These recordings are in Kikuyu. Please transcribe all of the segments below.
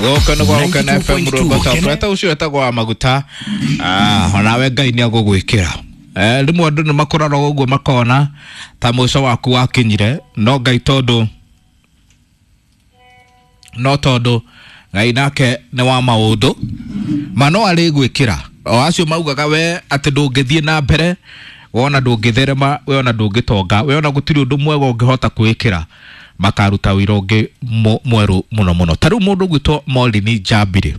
Gũkũ nĩ gwa Gũkena FM rwĩmbo ta ũcio wetagwo wa maguta. Onawe Ngai nĩ agũgwĩkĩra. Rĩmwe andũ nĩ makũrora ũguo makona ta mũico waku wakinyire, no Ngai tondũ no tondũ Ngai nake nĩ wa maũndũ ma no arĩgwĩkĩra. O acio maugaga we atĩ ndũngĩthiĩ na mbere, wona ndũngĩtherema, we ona ndũngĩtonga, we ona gũtirĩ ũndũ mwega ũngĩhota kwĩkĩra, makaruta wĩra ũngĩ mwerũ mũno mũno. Ta rĩu mũndũ ũgwĩtwo Maureen Njambire,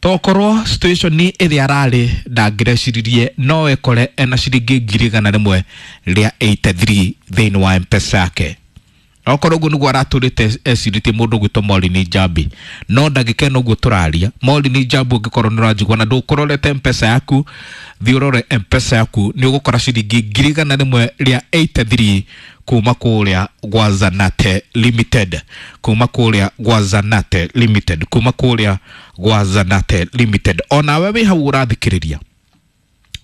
tokorwo situation ĩrĩa ararĩ ndangĩreciririe no ekore ena ciringi 183,000 thĩinĩ wa M-Pesa yake. Okorwo ũguo nĩguo aratũrĩte ecirĩtie mũndũ ũgwĩtwo Maureen Njambi, no ndagĩka ĩno ũguo tũraria, Maureen Njambi ũngĩkorwo nĩ ũranjigua na ndũkũrorete M-Pesa yaku, thiĩ ũrore M-Pesa yaku, nĩ ũgũkora ciringi 183,000 kuma kũrĩa gwa Zanate Limited, kuma kũrĩa gwa Zanate Limited, kuma kũrĩa gwa Zanate Limited. Onawe wĩ hau ũrathikĩrĩria,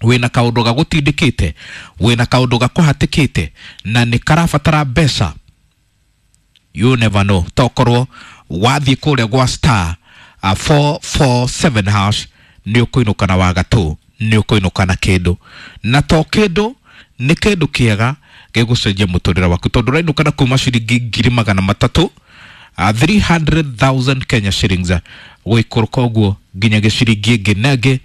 wĩna kaũndũ gagũtindĩkĩte, wĩna kaũndũ gakũhatĩkĩte na nĩ karabatara mbeca, you never know. Tokorwo wathiĩ kũrĩa gwa star 447 hash nĩ ũkũinũka na wagatũ, nĩ ũkũinũka na kĩndũ, na to kĩndũ, nĩ kĩndũ kĩega gĩgũcenjia mũtũrĩre waku, tondũ ũrainũka na kuma ciringi 300,000, 300,000 Kenya shillings, gũikũrũka ũguo nginya gĩciringi ĩngĩ na ĩngĩ,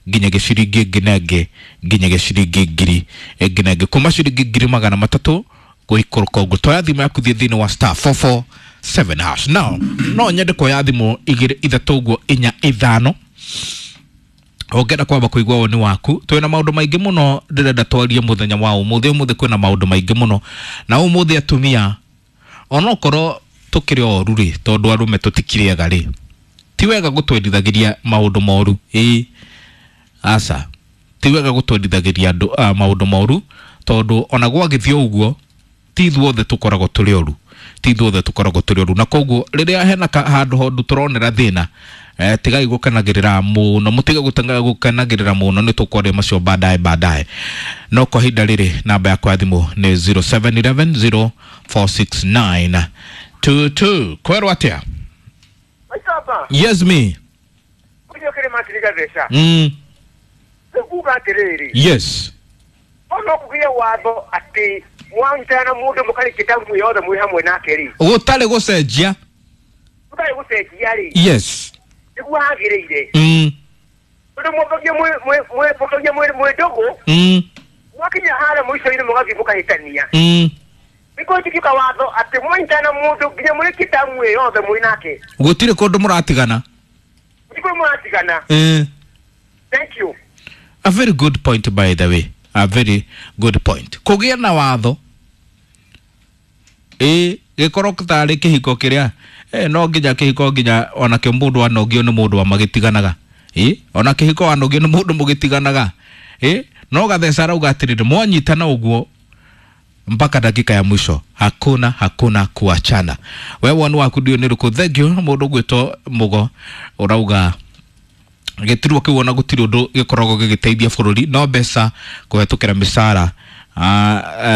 nginya gĩciringi ĩngĩ na ĩngĩ, nginya gĩciringi ngiri ĩngĩ na ĩngĩ, kuma ciringi 300,000 gũikũrũka ũguo. Toya thimũ yaku, thiĩ thĩinĩ wa star 447 hash. Now no nyende kuoya thimũ igĩrĩ ithatũ ũguo inya ithano, ũngĩenda kwamba kũigua woni waku. Twĩna maũndũ maingĩ mũno ndĩrenda twarie mũthenya wa ũmũthĩ. Ũmũthĩ kwĩna maũndũ maingĩ mũno, na ũmũthĩ atumia onokorwo tũkĩrĩ oru rĩ, tondũ arũme tũtikĩrĩaga rĩ, ti wega gũtwendithagĩria maũndũ moru. Ĩĩ aca, ti wega gũtwendithagĩria andũ maũndũ moru, tondũ ona gwagĩthiĩ ũguo ti ithuothe tũkoragwo tũrĩ oru, ti ithuothe tũkoragwo tũrĩ oru. Na koguo rĩrĩa hena handũ hondu tũronera thĩna, tigai gũkenagĩrĩra mũno, mũtige gũkenagĩrĩra mũno, nĩ tũkwaria macio baadaye baadaye. No kwa ihinda rĩrĩ namba yakwa ya thimũ nĩ 0711 0469 22. Kwerwo atĩa? Maitaba, Yes me. ũcio kĩrĩ matiriga theca. Nguga atĩrĩrĩ, Yes. ono kũgĩe watho atĩ mwanyitana na mũndũ mũkarĩkia tamu yothe mwĩ hamwe nake rĩ, gũtarĩ gũcenjia, mũtarĩ gũcenjia rĩ, Yes. nĩguo hagĩrĩire. Tondũ mwambagia mwambagia mwĩ ndũgũ, mwakinya harĩa mũico-inĩ mũgathiĩ mũkahĩtania. Nĩguo njĩkĩka watho atĩ mwanyitana na mũndũ nginya mũrĩkie tamu ĩyo yothe mwĩ nake, gũtirĩ kũndũ mũratigana. Nĩguo mũratigana. Thank you. A very good point, by the way, a very good point. Kũgĩa na watho ĩ gĩkorwo tarĩ kĩhiko kĩrĩa no nginya kĩhiko nginya onakĩo mũndũ anogio nĩ mũndũ amagĩtiganaga, ĩ ona kĩhiko wanogio nĩ mũndũ mũgĩtiganaga, ĩ no gatheca arauga atĩrĩrĩ, mwanyitana ũguo mpaka dakika ya mwisho, hakuna hakuna kuachana. We woni waku ndiũ nĩ rĩkũ? Thank you. Mũndũ ũgwĩtwo mũgo ũrauga gĩtirwo kĩu ona gũtirĩ ũndũ gĩkoragwo gĩgĩteithia bũrũri, no mbeca kũhetũkĩra mĩcara,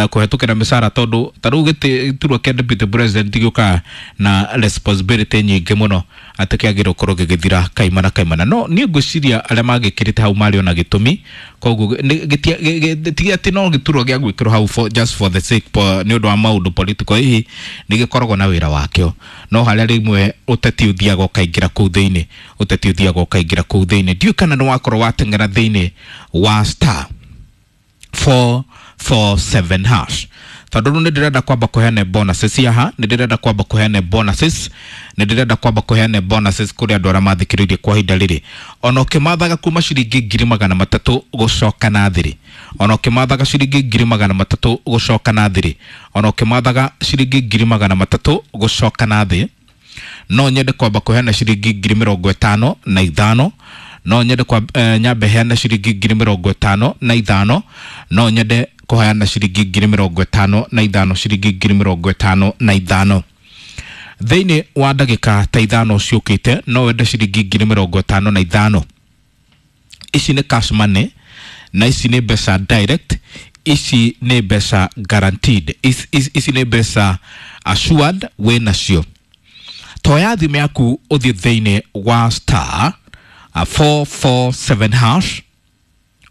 kũhetũkĩra mĩcara, tondũ ta rĩu gĩturwa kĩa deputy president gĩũkaga na responsibility nyingĩ mũno atĩ kĩagĩrĩirwo gũkorwo gĩgĩthira kaimana kaimana. No niĩ ngwĩciria arĩa magĩkĩrĩte hau marĩ ona gĩtũmi, koguo ti atĩ no gĩturwa gĩa gwĩkĩrwo hau for, just for the sake nĩ ũndũ wa maũndũ political, hihi nĩ gĩkoragwo na wĩra wakĩo, no harĩa rĩmwe ũteti ũthiaga ũkaingĩra kũu thĩinĩ, ũteti ũthiaga ũkaingĩra kũu thĩinĩ. Ndiũĩ kana nĩ wakorwo wateng'era thĩinĩ wa star 447 hash, tondũ rĩu nĩ ndĩrenda kwamba kũheana bonuses haha, nĩ ndĩrenda kwamba kũheana bonuses, nĩ ndĩrenda kwamba kũheana bonuses kũrĩ andũ arĩa mathikĩrĩirie kwa ihinda rĩrĩ. Ona ũkĩmathaga kuma ciringi 300,000 gũcoka na thĩrĩ, ona ũkĩmathaga ciringi 300,000 gũcoka na thĩrĩ, ona ũkĩmathaga ciringi 300,000 gũcoka na thĩ, no nyende kwamba kũheana ciringi 55,000, no nyende kwa nyambe heana ciringi 55,000, no nyende kũheana ciringi 55,000, ciringi 55,000 thĩinĩ wa ndagĩka ta ithano ciũkĩte. No wende ciringi 55,000? Ici nĩ cash money, na ici nĩ mbeca direct, ici nĩ mbeca guaranteed, ici nĩ mbeca assured wĩ nacio. Toya thimũ yaku ũthiĩ thĩinĩ wa star 447 hash.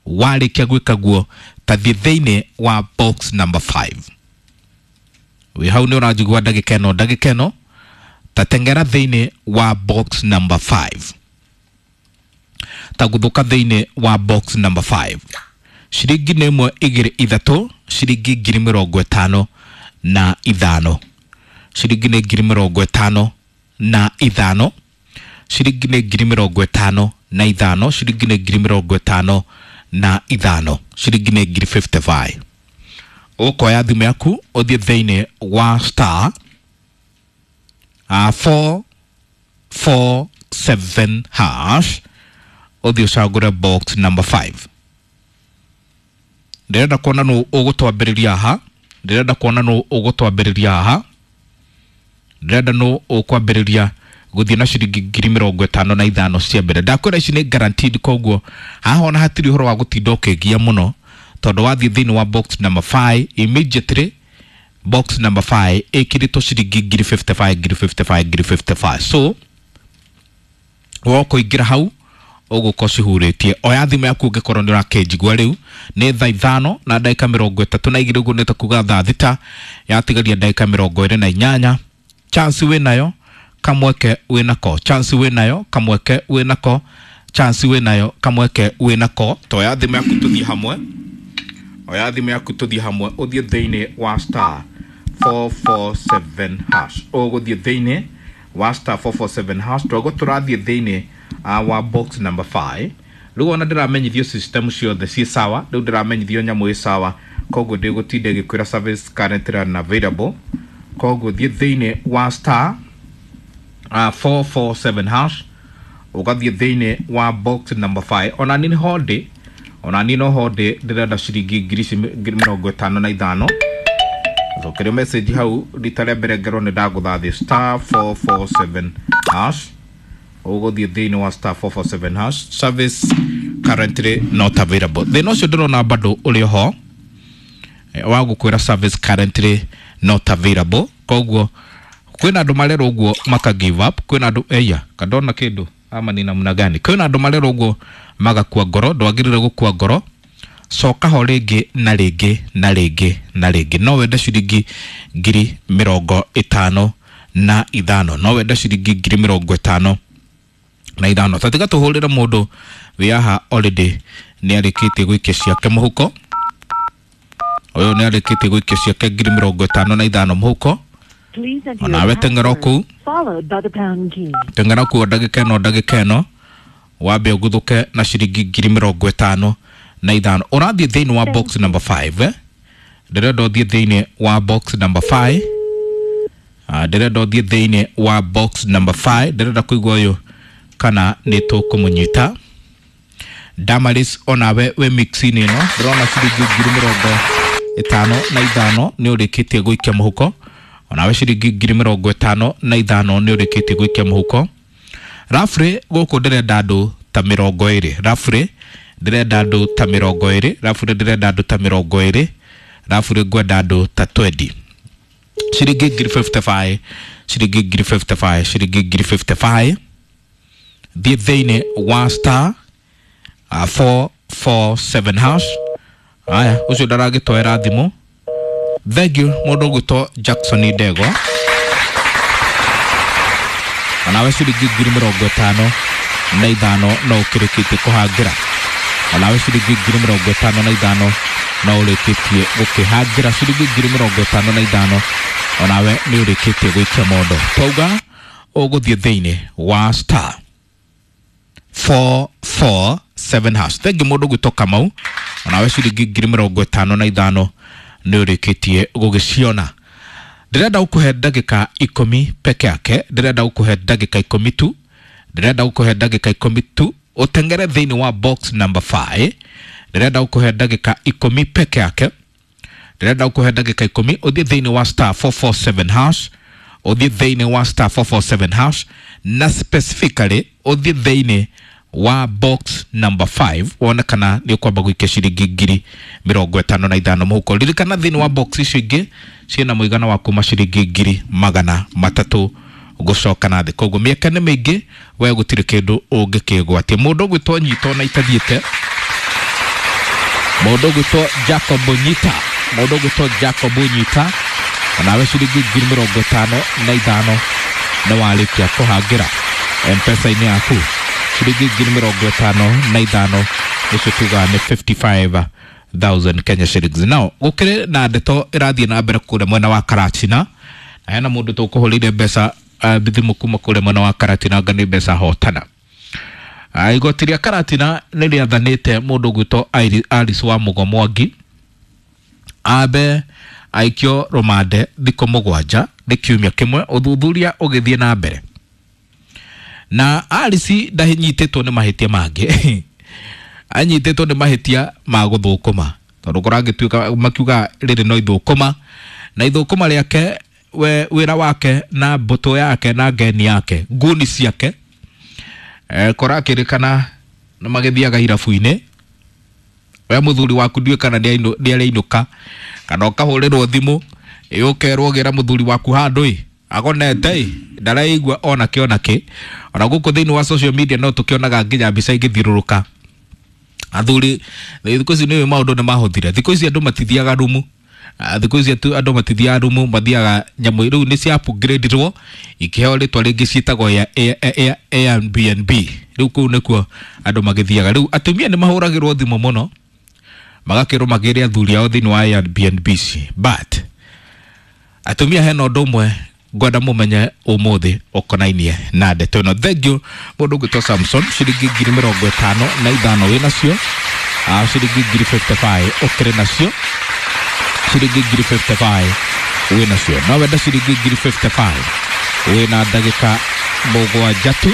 Warĩkia gwĩka guo, tathiĩ thĩinĩ wa box number 5. Wĩ hau nĩ ũranjigua ndagĩka ĩno, ndagĩka ĩno tatengera thĩinĩ wa box number 5, tagũthũka thĩinĩ wa box number 5. Ciringi nĩ ĩmwe, igĩrĩ, ithatũ, ciringi 55,000. Ciringi nĩ 55,000. Ciringi nĩ 55,000. Ciringi nĩ 55,000. Ciringi nĩ 55,000. Ũkoya thimũ yaku ũthiĩ thĩinĩ wa star 447 hash, ũthiĩ ũcagũre box number 5. Ndĩrenda kuona nũ ũgũtwambĩrĩria haha. Ndĩrenda kuona nũ ũgũtwambĩrĩria haha. Ndĩrenda nũ ũkwambĩrĩria gũthiĩ na ciringi 55,000 cia mbere. Ndakwĩra ici nĩ guaranteed, koguo haha ona hatirĩ ũhoro wa gũtinda ũkĩgia mũno, tondũ wathiĩ thĩinĩ wa box number 5 immediately, box number 5 ĩkĩrĩtwo ciringi 55,000, 55,000, 55,000. So wokũingĩra hau ũgũkorwo cihurĩtie. Oya thimũ yaku ũngĩkorwo nĩ ũrakĩnjigua rĩu. Nĩ thaa 5:32, ũguo nĩ ta kuga thaa 6 yatigaria ndagĩka 28. Chance wĩ nayo, kamweke wĩ nako. Chance wĩ nayo, kamweke wĩ nako. Chance wĩ nayo, kamweke wĩ nako. Toya thimũ yaku tũthiĩ hamwe. Oya thimũ yaku tũthiĩ hamwe, ũthiĩ thĩinĩ wa star 447 hash. Ũgũthiĩ thĩinĩ wa star 447 hash. Twago tũrathiĩ thĩinĩ wa box number 5. Rĩu ona ndĩramenyithio system ciothe ciĩ sawa. Rĩu ndĩramenyithio nyamũ ĩ sawa, koguo ndĩgũtinda ĩgĩkwĩra service currently unavailable. Koguo thiĩ thĩinĩ wa star 447 hash, ũgathiĩ thĩinĩ wa box number 5. Ona niĩ ho ndĩ, ona niĩ no ho ndĩ, ndĩrenda ciringi 55,000. Cokerio message hau rita rĩa mbere ngerwo nĩ ndagũtha star 447 hash. Ũgũthiĩ thĩinĩ wa star 447 hash, service currently not available. Thĩna ũcio ndĩrona bado ũrĩ ho wa gũkwĩra service currently not available. Koguo kwĩna andũ marerwo ũguo maka give up. Kwĩna andũ eya kandona kĩndũ ama ni namna gani. Kwĩna andũ marerwo ũguo magakua ngoro. Ndwagĩrĩire gũkua ngoro, coka ho rĩngĩ na rĩngĩ na rĩngĩ na rĩngĩ. No wende ciringi 55,000. No wende ciringi 55,000. Tatiga tũhũrĩre mũndũ wĩ haha already nĩ arĩkĩtie gũikia ciake mũhuko. Ũyũ nĩ arĩkĩtie gũikia ciake 55,000 mũhuko. Onawe teng'era kũu, teng'era kũu ndagĩka ĩno, ndagĩka ĩno wambe ũguthũke na ciringi 55,000. Ũrathiĩ thĩinĩ wa box number 5, eh? Ndĩrenda ũthiĩ thĩinĩ wa box number 5. Ndĩrenda ũthiĩ thĩinĩ wa box number 5. Ndĩrenda kũigua ũyũ kana nĩ tũkũmũnyita. Damaris, onawe wĩ mix-inĩ ĩno. Ndĩrona ciringi 55,000 nĩ ũrĩkĩtie gũikia mũhuko. Onawe ciringi 55,000 nĩ ũrĩkĩtie gũikia mũhuko. Rafrĩ gũkũ ndĩrenda andũ ta 20. Rafrĩ ndĩrenda andũ ta 20. Rafrĩ ndĩrenda andũ ta 20. Rafrĩ ngwenda andũ ta 20. Ciringi 55,000, ciringi 55,000, ciringi 55,000. Thiĩ thĩinĩ wa star 447 hash. Aya, ũcio ndaragĩtoera thimũ. Thank you mũndũ ũgwĩtwo Jackson Ndegwa. Onawe ciringi 55,000 no ũkĩrĩkĩtie kũhangĩra. Onawe ciringi 55,000 no ũrĩkĩtie gũkĩhangĩra. Ciringi 55,000 onawe nĩ ũrĩkĩtie gũikia mondo. Twauga ũgũthiĩ thĩinĩ wa star 447 hash. Thank you mũndũ ũgwĩtwo Kamau. Onawe ciringi 55,000 nĩ ũrĩkĩtie gũgĩciona. Ndĩrenda gũkũhe ndagĩka 10 peke yake. Ndĩrenda gũkũhe ndagĩka 10 tu. Ndĩrenda gũkũhe ndagĩka 10 tu ũtengere thĩinĩ wa box number 5. Ndĩrenda gũkũhe ndagĩka 10 peke yake. Ndĩrenda gũkũhe ndagĩka 10 ũthiĩ thĩinĩ wa star 447 hash. Ũthiĩ thĩinĩ wa star 447 hash, na specifically ũthiĩ thĩinĩ wa box number 5 wone kana nĩ ũkwamba gũikia ciringi 55,000 mũhuko. Ririkana thĩinĩ wa box icio ingĩ ciĩna mũigana wa kuma ciringi 300,000 gũcoka na thĩ. Koguo mĩaka nĩ mĩingĩ we gũtirĩ kĩndũ ũngĩkĩgwatia. Mũndũ ũgwĩtwo Nyito na itathiĩte, mũndũ ũgwĩtwo Jacob Nyita, mũndũ ũgwĩtwo Jacob Nyita, onawe ciringi 55,000 nĩ warĩkia kũhangĩra M-Pesa-inĩ yaku. Ciringi 55,000 nĩcio tugaga nĩ 55,000 Kenya shillings. Now gũkĩrĩ na ndeto ĩrathiĩ na mbere kũrĩa mwena wa Karatina, na hena mũndũ tũkũhũrĩire mbeca thimũ kuma kũrĩa mwena wa Karatina, anga nĩ mbeca hotana. Igoti rĩa Karatina nĩ rĩathanĩte mũndũ ũgwĩtwo Alice wa Mũgo Mwangi ambe aikio rũmande thikũ 7 nĩ kiumia kĩmwe, ũthuthuria ũgĩthiĩ na mbere. Na Alice ndanyitĩtwo nĩ mahĩtia mangĩ anyitĩtwo nĩ mahĩtia ma gũthũkũma, tondũ kũrangĩtuĩka makiuga rĩrĩ no ithũkũma, na ithũkũma rĩake we wĩra wake na mbũtũ yake na ngeni yake nguni ciake kũrakĩrĩkana nĩ magĩthiaga irabu-inĩ. We mũthuri waku ndiũĩ kana nĩ arĩinũka, kana ũkahũrĩrwo thimũ ũkerwo gĩra mũthuri waku handũ ĩ agonete ĩ ndaraigua ona kĩ ona kĩ. Ona gũkũ thĩinĩ wa social media no tũkĩonaga nginya mbica igĩthiũrũrũka athuri. Thikũ ici nĩ maũndũ nĩ mahũthire, thikũ ici andũ matithiaga rumu, thikũ ici andũ matithiaga rumu, mathiaga nyamũ rĩu nĩ cia upgradeirwo ikĩheo rĩtwa rĩngĩ ciĩtagwo ya Airbnb. Rĩu kũu nĩkuo andũ magĩthiaga. Rĩu atumia nĩ mahũragĩrwo thimũ mũno magakĩrwo magĩre athuri ao thĩinĩ wa Airbnb, but atumia hena ũndũ ũmwe ngwenda mũmenye ũmũthĩ ũkonainie na ndeto ĩno. Thank you mũndũ ũgwĩtwo Samson, ciringi 55,000 wĩ nacio, ciringi 55,000 ũkĩrĩ nacio, ciringi 55,000 wĩ nacio. No wenda ciringi 55,000 wĩna ndagĩka 7 tu,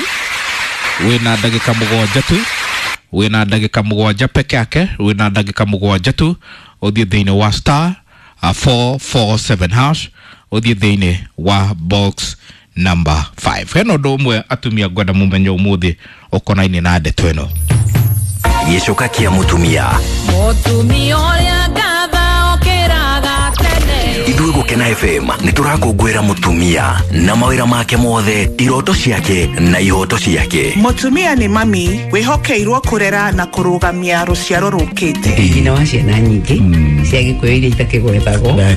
wĩna ndagĩka 7 tu, wĩna ndagĩka 7 peke yake, wĩna ndagĩka 7 tu ũthiĩ thĩinĩ wa star 447 hash ũthiĩ thĩinĩ wa box number 5. Hena ũndũ ũmwe atumia ngwenda mũmenye ũmũthĩ ũkonainie na ndeto ĩno. Gĩcoka kĩa mũtumia. Mũtumia ũrĩa ngatha ũkĩraga tene. Ithuĩ Gũkena FM nĩ tũrakũngũĩra mũtumia na mawĩra make mothe, iroto ciake na ihoto ciake. Mũtumia nĩ mami wĩhokeirwo kũrera na kũrũgamia rũciaro rũkĩte. Nyina wa ciana nyingĩ cia Gĩkũyũ iria itakĩgwetagwo.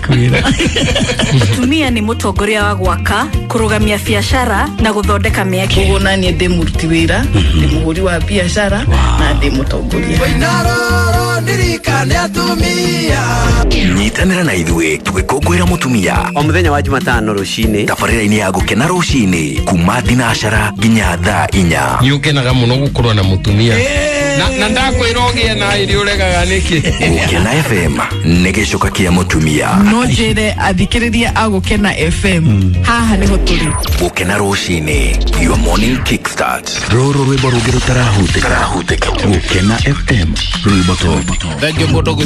Mũtumia nĩ mũtongoria wa gwaka, kũrũgamia biacara na gũthondeka mĩeke. Koguo naniĩ ndĩ mũruti wĩra, ndĩ mũhũri wa biacara na ndĩ mũtongoria. Nyitanĩra na ithuĩ tũgĩkũngũĩra mũtumia o mũthenya wa Jumatano rũcinĩ, tabarĩra-inĩ ya Gũkena rũcinĩ kuma thinacara nginya thaa 4. Nĩ ũkenaga mũno gũkorwo na mũtumia na ndakwĩra ũgĩe na irio ũregaga nĩkĩ. Gũkena FM nĩ gĩcoka kĩa mũtumia. No njĩre athikĩrĩria a Gũkena FM haha nĩho tũrĩ. Gũkena rũcinĩ, your morning kickstart. Rũrũ rwĩmbo rũngĩ rũtarahutĩka. Gũkena FM rwĩmbo top. Thank you mũndũ.